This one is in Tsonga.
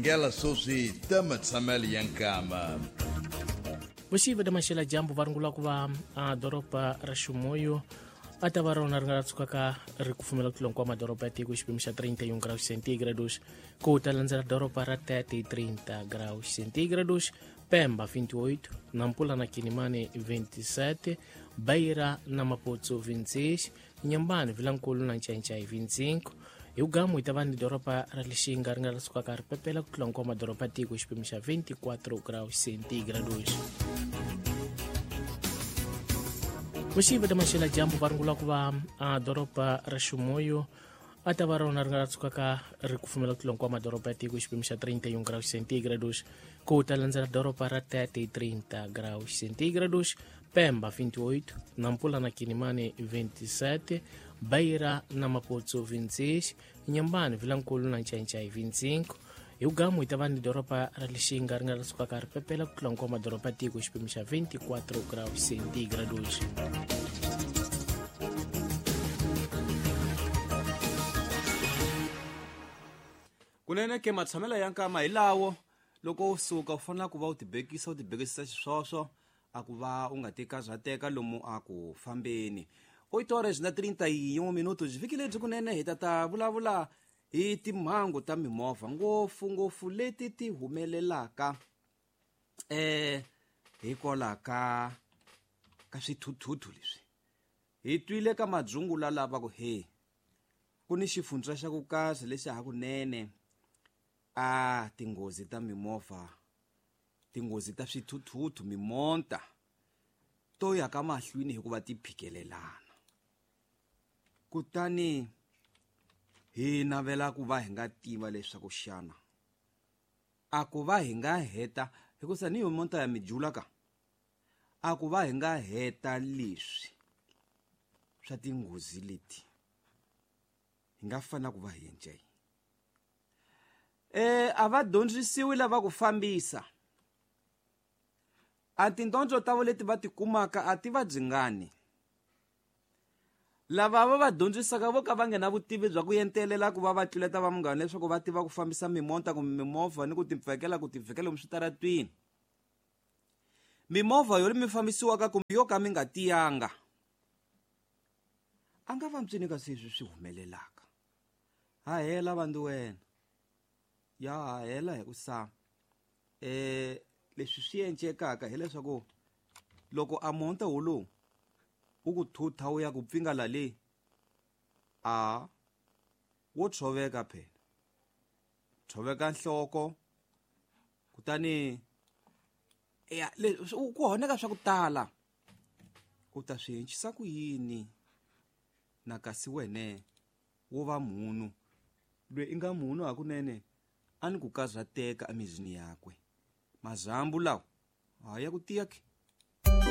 Benguela sweswi ta matshamelo ya nkama. Vuxiva ta maxela dyambu va rungula ku va a doroba ra Ximuyu a ta va rona ri nga tshukaka ri kufumela ku tlula hinkwawo madoroba ya tiko xipimo xa 31 graus centigrados ku ta landzela doroba ra Tete 30 graus centigrados, Pemba 28, Nampula na Kinimani 27, Beira na Maputo 26, Nyambani, Vilankulu na Ncancai 25. Hi ugamu hi ta va ni doroba ra Lixinga ri nga sukaka ri pepela ku tlula hinkwawo madoroba tiko xipimo xa 24 graus centigrados. Vuxiva ta maxela dyambu va rungula ku va a doroba ra Ximuyu a ta va rona ri nga tshukaka ri kufumela ku tlula hinkwawo madoroba ya tiko xipimo xa 31 graus centigrados ku ta landzela doroba ra Tete 30 graus centigrados, Pemba 28, Nampula na Kinimani 27, Beira na Maputo 26, Nyambani, Vilankulu na Ncancai 25. Hi ugamu hi ta va ni doroba ra Lixinga ri nga sukaka ri pepela ku tlula hinkwawo madoroba ya tiko xipimo xa 24 graus centigrados. Kunene ke matshamelo ya nkama hi lawo loko u suka u fanele ku va u tibekisa u tibekisisa xiswoswo a ku va u nga ti karhateka lomu a ku fambeni. 8 horas na 31 minutos vhiki lebyi kunene hi ta ta vulavula hi timhangu ta mimovha ngopfungopfu leti ti humelelaka hikwalaho ka ka swithuthuthu leswi hi twile ka madzungula lava ku he ku ni xifundza xa ku kasi lexi hakunene a tinghozi ta mimovha tinghozi ta swithuthuthu mimonta to ya ka mahlweni hikuva ti phikelelana kutani hi navela ku va hi nga tiva leswaku xana a ku va hi nga heta hikusa ni yo monta ya mijula ka a ku va hi nga heta leswi swa tinghozi leti hi nga fanela ku va hi endla yini. A va dyondzisiwi lava ku fambisa a tindyondzo ta vo leti va tikumaka a ti va byingani lava va va dyondzisaka vo ka va nga na vutivi bya ku entelela ku va va tluleta va munghana leswaku va tiva ku fambisa mimonta kumbe mimovha ni ku tipfekela ku tivhikela lomu switaratwini mimovha yo mi fambisiwaka kumbe yo ka mi nga tiyanga a nga va ntswini ka sweswi swi humelelaka ha hela vandu wena ya ha hela hi ku sa leswi swi encekaka hileswaku loko a monta wolowu wu ku thutha wu ya ku pfinga la le a wo tshoveka phela tshoveka nhloko kutani ya ku honeka swa ku tala u ta swi encisa ku yini na kasi wene wo va munhu loyi i nga munhu hakunene a ni ku karhateka emizini yakwe mazambu lawa ha ya ku tiya ke.